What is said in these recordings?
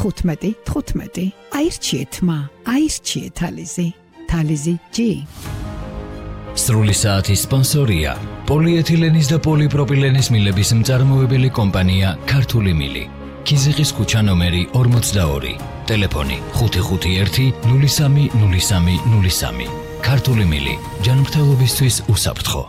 15 აირჩიეთ მა აირჩიეთ თალიზი თალიზი G სრული საათის სპონსორია პოლიეთილენის და პოლიპროპილენის მილების მწარმოებელი კომპანია ქართული მილი ქიზიყის ქუჩა ნომერი 42 ტელეფონი 551 030303 ქართული მილი ჯანმრთელობისთვის უსაფრთხო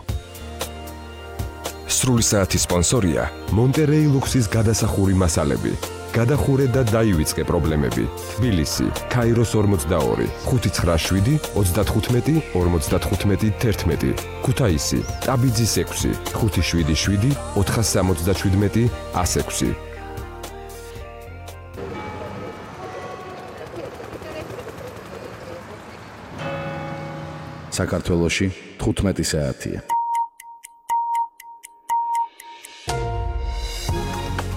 სრული საათის სპონსორია მონტერეი ლუქსის გადასახური მასალები გადახურე და დაივიწყე პრობლემები თბილისი ქაიროს 42 597 35 55 11 ქუთაისი ტაბიძის 6 577 477 106 საქართველოში 15 საათია.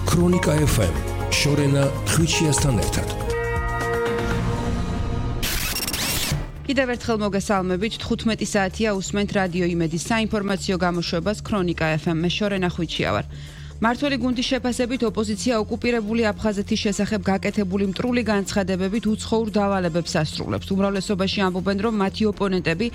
ქრონიკა FM შორენა ხვიჩიასთან ერთად. კიდევ ერთხელ მოგესალმებით 15 საათია უსმენთ რადიო იმედის საინფორმაციო გამოშვებას ქრონიკა FM მე შორენა ხვიჩია ვარ. მართველი გუნდის შეფასებით ოპოზიცია ოკუპირებული აფხაზეთის შესახებ გაკეთებული მტრული განცხადებებით უცხოურ დავალებებს ასრულებს. უმრავლესობაში ამბობენ, რომ მათი ოპონენტები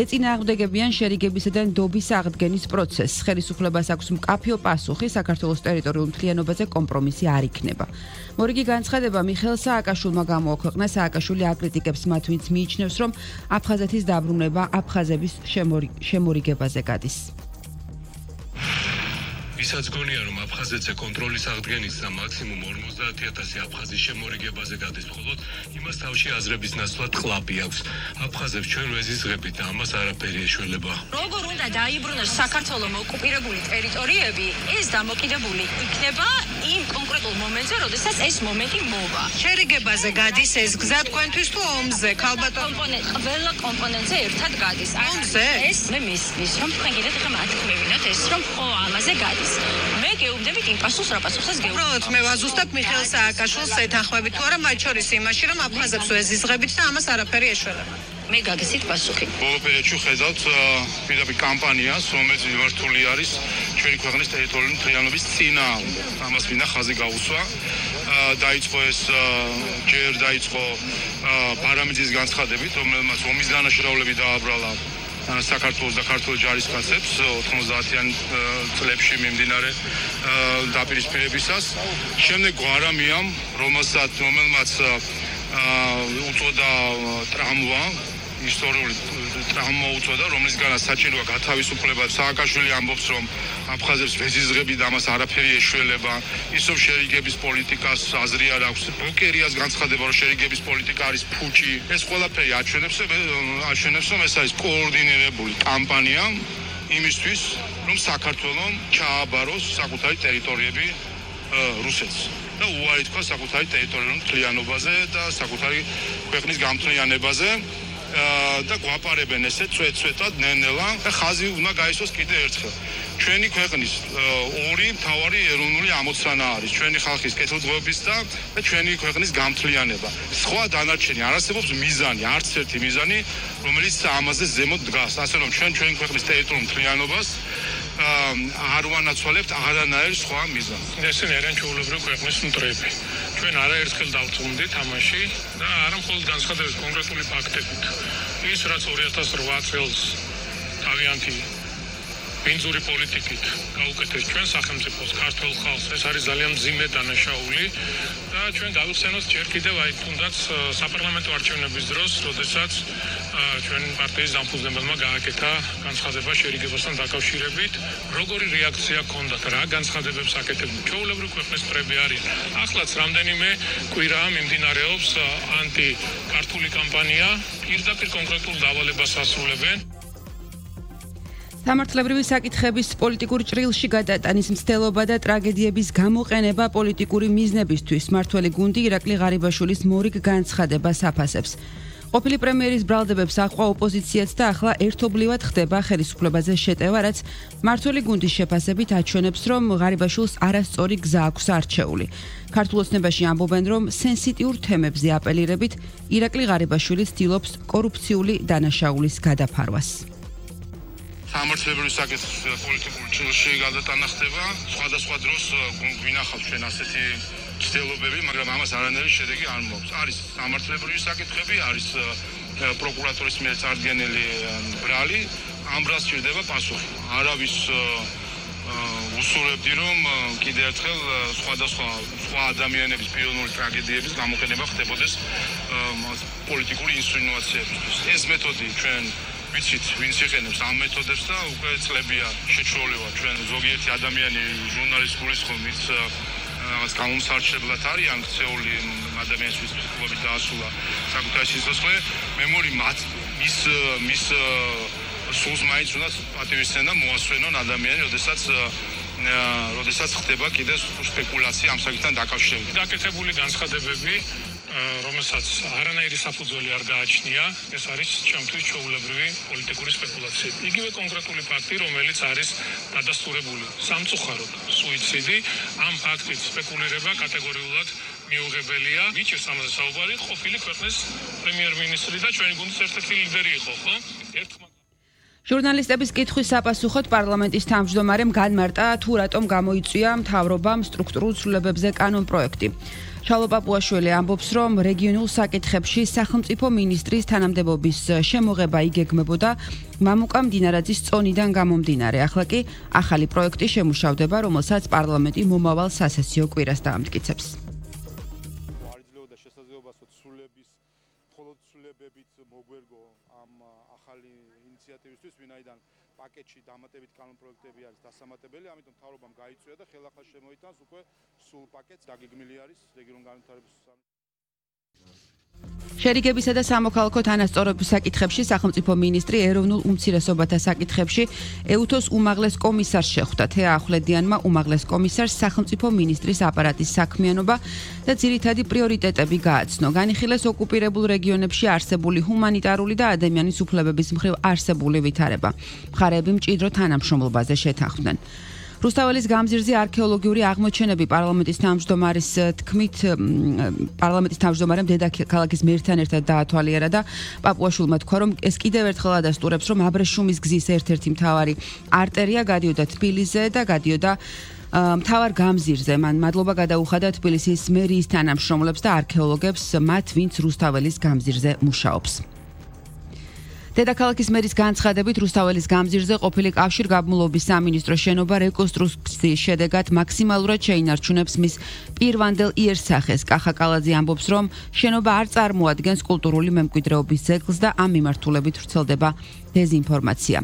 ეწინააღმდეგებიან შერიგებისა და ნდობის აღდგენის პროცესს. ხელისუფლებას აქვს მკაფიო პასუხი საქართველოს ტერიტორიულ მთლიანობაზე კომპრომისი არ იქნება. მორიგი განცხადება მიხეილ სააკაშვილმა გამოაქვეყნა. სააკაშვილი აკრიტიკებს მათ, ვინც მიიჩნევს, რომ აფხაზეთის დაბრუნება აფხაზების შემორიგებაზე გადის. ვისაც გონია რომ აფხაზეთზე კონტროლის აღდგენის და მაქსიმუმ 50,000 აფხაზის შემორიგებაზე გადის მხოლოდ იმას თავში აზრების ნაცვლად ყლაპი აქვს. აფხაზებს ჩვენ ვეზიზღებით და ამას არაფერი ეშველება. როგორ უნდა დაიბრუნოს საქართველოს ოკუპირებული ტერიტორიები, ეს დამოკიდებული იქნება იმ კონკრეტულ მომენტზე, როდესაც ეს მომენტი მოვა. შერიგებაზე გადის ეს გზა თქვენთვის თუ ომზე? ყველა კომპონენტზე ერთად გადის. ომზე? ეს მე მისმის, რომ თქვენ კიდევ ხომ ათქმევინოთ ეს, რომ ხო ამაზე გადის. მე გეუბნებით იმ პასუხს, რა პასუხსაც გეუბნებით. უბრალოდ მე ვაზუსტებ მიხეილ სააკაშვილს ეთანხმებით თუ არა მათ შორის იმაში, რომ აფხაზებს ვეზიზღებით და ამას არაფერი ეშველება. მე გაგესით პასუხი. ბოლო პერიოდში ხედავთ პირდაპირ კამპანიას, რომელიც მიმართული არის ჩვენი ქვეყნის ტერიტორიული მთლიანობის წინააღმდეგ. ამას მინდა ხაზი გაუსვა. დაიწყო ეს დაიწყო პარამიძის განცხადებით, რომელმაც ომის დანაშაულები დააბრალა საქართველოს და ქართულ ჯარისკაცებს 90-იან წლებში მიმდინარე დაპირისპირებისას. შემდეგ გვარამიამ, რომელმაც უწოდა ტრამვა, ისტორიული ტრამვა უწოდა, რომლისგანაც საჭიროა გათავისუფლება. სააკაშვილი ამბობს, რომ აფხაზებს ვეზიზღები და ამას არაფერი ეშველება. ისევ შერიგების პოლიტიკას აზრი არ აქვს. ბოკერიას განცხადება, რომ შერიგების პოლიტიკა არის ფუჭი. ეს ყველაფერი აჩვენებს, რომ ეს არის კოორდინირებული კამპანია იმისთვის, რომ საქართველოს ჩააბაროს საკუთარი ტერიტორიები რუსეთს. და უარი თქვა საკუთარი ტერიტორიულ მთლიანობაზე და საკუთარი ქვეყნის გამთლიანებაზე. და გვაპარებენ ესე წვეტ-წვეტად ნელ-ნელა და ხაზი უნდა გაისვას კიდევ ერთხელ. ჩვენი ქვეყნის ორი მთავარი ეროვნული ამოცანა არის ჩვენი ხალხის კეთილდღეობის და ჩვენი ქვეყნის გამთლიანება. სხვა დანარჩენი არ არსებობს მიზანი, არც ერთი მიზანი, რომელიც ამაზე ზემოთ დგას. ასე რომ ჩვენი ქვეყნის ტერიტორიულ მთლიანობას არ ვანაცვალებთ არანაირ სხვა მიზანს. ესენი არიან ჩვეულებრივი ქვეყნის მტრები. ჩვენ არაერთხელ დავწუნდით ამაში და არა მხოლოდ განცხადებით კონკრეტული ფაქტებით. ის რაც 2008 წელს თავიანთი ბინძური პოლიტიკით გაუკეთეს ჩვენ სახელმწიფოს ქართულ ხალხს, ეს არის ძალიან მძიმე დანაშაული და ჩვენ გავიხსენოთ ჯერ კიდევ აი თუნდაც საპარლამენტო არჩევნების დროს, როდესაც ჩვენი პარტიის დამფუძნებელმა გააკეთა განცხადება შერიგებასთან დაკავშირებით, როგორი რეაქცია ჰქონდათ, რა განცხადებებს აკეთებდნენ. ჩვეულებრივი ქვეყნის მტრები არის. ახლაც რამდენიმე კვირაა მიმდინარეობს ანტიკართული კამპანია, პირდაპირ კონკრეტულ დავალებას ასრულებენ. სამართლებრივი საკითხების პოლიტიკურ ჭრილში გადატანის მცდელობა და ტრაგედიების გამოყენება პოლიტიკური მიზნებისთვის მართველი გუნდი ირაკლი ღარიბაშვილის მორიგ განცხადებას აფასებს. ყოფილი პრემიერის ბრალდებებს აჰყვა ოპოზიციაც და ახლა ერთობლივად ხდება ხელისუფლებაზე შეტევა, რაც მართველი გუნდის შეფასებით აჩვენებს, რომ ღარიბაშვილს არასწორი გზა აქვს არჩეული. ქართულ ოცნებაში ამბობენ, რომ სენსიტიურ თემებზე აპელირებით ირაკლი ღარიბაშვილი ცდილობს კორუფციული დანაშაულის გადაფარვას. სამართლებრივი საკითხის პოლიტიკურ ჭრილში გადატანა ხდება. სხვადასხვა დროს გვინახავს ჩვენ ასეთი ცდილობები, მაგრამ ამას არანაირი შედეგი არ მოაქვს. არის სამართლებრივი საკითხები, არის პროკურატურის მიერ წარდგენილი ბრალი, ამ ბრალს სჭირდება პასუხი. არავის უსურვებდი, რომ კიდევ ერთხელ სხვა ადამიანების პიროვნული ტრაგედიების გამოყენება ხდებოდეს პოლიტიკური ინსცენაციებისთვის. ეს მეთოდი ჩვენ ვიცით, ვინც იყენებს ამ მეთოდებს და უკვე წლებია შეჩვეულება ჩვენ ზოგიერთი ადამიანი ჟურნალისტ გულისხმობ, ვინც რაღაც გამომსარჩებლად არის ან ქცეული ადამიანისთვის ფსიქოლოგიურად დაასრულა საკუთარი სიცოცხლე, მე მგონი მის სულს მაინც უნდა პატივისცემა მოასვენონ ადამიანი, როდესაც ხდება კიდევ სპეკულაცია ამ საკითხთან დაკავშირებით. დაკეთებული განცხადებები, რომელსაც არანაირი საფუძველი არ გააჩნია, ეს არის ჩემთვის ჩვეულებრივი პოლიტიკური სპეკულაცია. იგივე კონკრეტული ფაქტი, რომელიც არის დადასტურებული სამწუხაროდ სუიციდი, ამ ფაქტით სპეკულირება კატეგორიულად მიუღებელია. მიჩნევს ამაზე საუბარი ყოფილი ქვეყნის პრემიერ-მინისტრი და ჩვენი გუნდის ერთ-ერთი ლიდერი იყო, ხო? ჟურნალისტების კითხვის საპასუხოდ პარლამენტის თავმჯდომარემ განმარტა, თუ რატომ გამოიწვია მთავრობამ სტრუქტურულ ცვლილებებზე კანონპროექტი. შალო პაპუაშვილი ამბობს, რომ რეგიონულ საკითხებში სახელმწიფო მინისტრის თანამდებობის შემოღება იგეგმებოდა მამუკა მდინარაძის წონიდან გამომდინარე. ახლა კი ახალი პროექტი შემუშავდება, რომელსაც პარლამენტი მომავალ სასესიო კვირას დაამტკიცებს. ვინაიდან პაკეტში დამატებით კანონპროექტები არის დასამატებელი, ამიტომ მთავრობამ გაიწვია და ხელახლა შემოიტანს უკვე სულ პაკეტს, დაგეგმილი არის რეგიონულ განვითარების შერიგებისა და სამოქალაქო თანასწორობის საკითხებში სახელმწიფო მინისტრი ეროვნულ უმცირესობათა საკითხებში ეუთოს უმაღლეს კომისარს შეხვდა. თეა ახვლედიანმა უმაღლეს კომისარს სახელმწიფო მინისტრის აპარატის საქმიანობა და ძირითადი პრიორიტეტები გააცნო. განიხილეს ოკუპირებულ რეგიონებში არსებული ჰუმანიტარული და ადამიანის უფლებების მხრივ არსებული ვითარება. მხარეები მჭიდრო თანამშრომლობაზე შეთანხმდნენ. რუსთაველის გამზირზე არქეოლოგიური აღმოჩენები პარლამენტის თავმჯდომარის თქმით პარლამენტის თავმჯდომარემ დედაქალაქის მერთან ერთად დაათვალიერა და პაპუაშვილმა თქვა, რომ ეს კიდევ ერთხელ ადასტურებს, რომ აბრეშუმის გზის ერთ-ერთი მთავარი არტერია გადიოდა თბილისზე და გადიოდა მთავარ გამზირზე. მან მადლობა გადაუხადა თბილისის მერიის თანამშრომლებს და არქეოლოგებს, მათ ვინც რუსთაველის გამზირზე მუშაობს. დედაქალაქის მერის განცხადებით რუსთაველის გამზირზე ყოფილი კავშირგაბმულობის სამინისტრო შენობა რეკონსტრუქციის შედეგად მაქსიმალურად შეინარჩუნებს მის პირვანდელ იერსახეს. კახა კალაძე ამბობს, რომ შენობა არ წარმოადგენს კულტურული მემკვიდრეობის ძეგლს და ამ მიმართულებით ვრცელდება დეზინფორმაცია.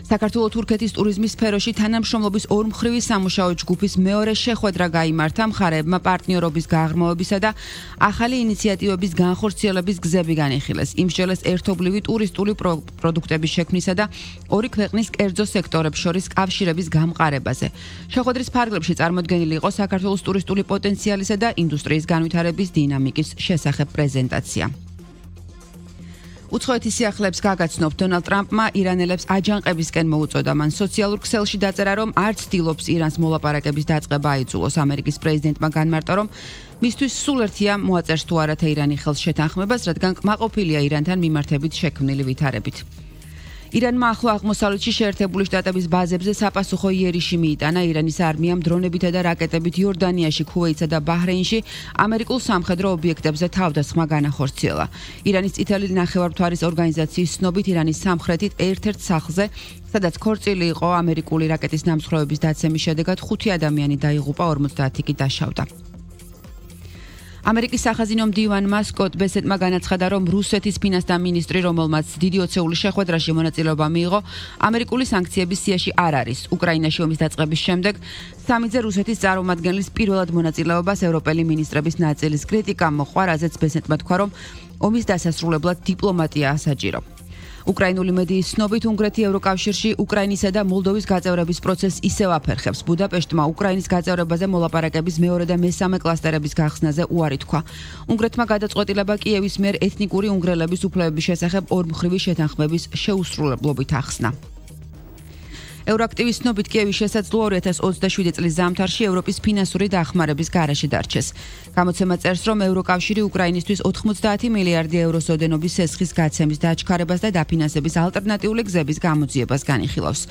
საქართველო-თურქეთის ტურიზმის სფეროში თანამშრომლობის ორმხრივი სამუშაო ჯგუფის მეორე შეხვედრა გაიმართა. მხარეებმა პარტნიორობის გაღრმავებისა და ახალი ინიციატივების განხორციელების გზები განიხილეს. იმსჯელეს ერთობლივი ტურისტული პროდუქტების შექმნისა და ორი ქვეყნის კერძო სექტორებს შორის კავშირების გამყარებაზე. შეხვედრის ფარგლებში წარმოდგენილი იყო საქართველოს ტურისტული პოტენციალისა და ინდუსტრიის განვითარების დინამიკის შესახებ პრეზენტაცია. უცხოეთის სიახლეებს გაგაცნობ დონალდ ტრამპმა ირანელებს აჯანყებისკენ მოუწოდა. მან სოციალურ ქსელში დაწერა, რომ არ ცდილობს ირანს მოლაპარაკების დაწყება აიძულოს. ამერიკის პრეზიდენტმა განმარტა, რომ მისთვის სულ ერთია მოაწერს თუ არა თეირანი ხელს შეთანხმებას, რადგან კმაყოფილია ირანთან მიმართებით შექმნილი ვითარებით. ირანმა ახლო აღმოსავლეთში შეერთებული შტატების ბაზებზე საპასუხო იერიში მიიტანა. ირანის არმიამ დრონებითა და რაკეტებით იორდანიაში, ქუვეითსა და ბაჰრეინში ამერიკულ სამხედრო ობიექტებზე თავდასხმა განახორციელა. ირანის წითელი ნახევარმთვარის ორგანიზაციის ცნობით, ირანის სამხრეთით ერთ-ერთ სახლზე, სადაც ქორწილი იყო ამერიკული რაკეტის ნამსხვრევების დაცემის შედეგად 5 ადამიანი დაიღუპა, 50 კი დაშავდა. ამერიკის სახაზინო მდივანმა სკოტ ბესეტმა განაცხადა, რომ რუსეთის ფინანსთა მინისტრი, რომელმაც დიდი ოცეული შეხვედრაში მონაწილეობა მიიღო, ამერიკული სანქციების სიაში არ არის. უკრაინაში ომის დაწყების შემდეგ სამიძე რუსეთის წარმომადგენლის პირველად მონაწილეობას ევროპელი მინისტრების ნაწილის კრიტიკამ მოყვა, რაზეც ბესეტმა თქვა, რომ ომის დასასრულებლად დიპლომატიაა საჭირო. უკრაინული მედიის ცნობით, უნგრეთი ევროკავშირში უკრაინისა და მოლდოვის გაწევრების პროცესს ისევ აფერხებს. ბუდაპეშტმა უკრაინის გაწევრებაზე მოლაპარაკების მეორე და მესამე კლასტერების გახსნაზე უარი თქვა. უნგრეთმა გადაწყვეტილება კიევის მიერ ეთნიკური უნგრელების უფლებების შესახებ ორმხრივი შეთანხმების შეუსრულებლობით ახსნა. ევროაქტივის ცნობით კიევი შესაძლოა 2027 წლის ზამთარში ევროპის ფინანსური დახმარების გარეშე დარჩეს. გამოცემა წერს, რომ ევროკავშირი უკრაინისთვის 90 მილიარდი ევროს ოდენობის სესხის გაცემის დაჩქარებას და დაფინანსების ალტერნატიული გზების გამოძიებას განიხილავს.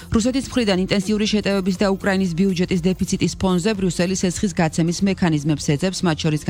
რუსეთის მხრიდან ინტენსიური შეტევების და უკრაინის ბიუჯეტის დეფიციტის ფონზე ბრიუსელი სესხის გაცემის მექანიზმებს ეძებს, მათ შორის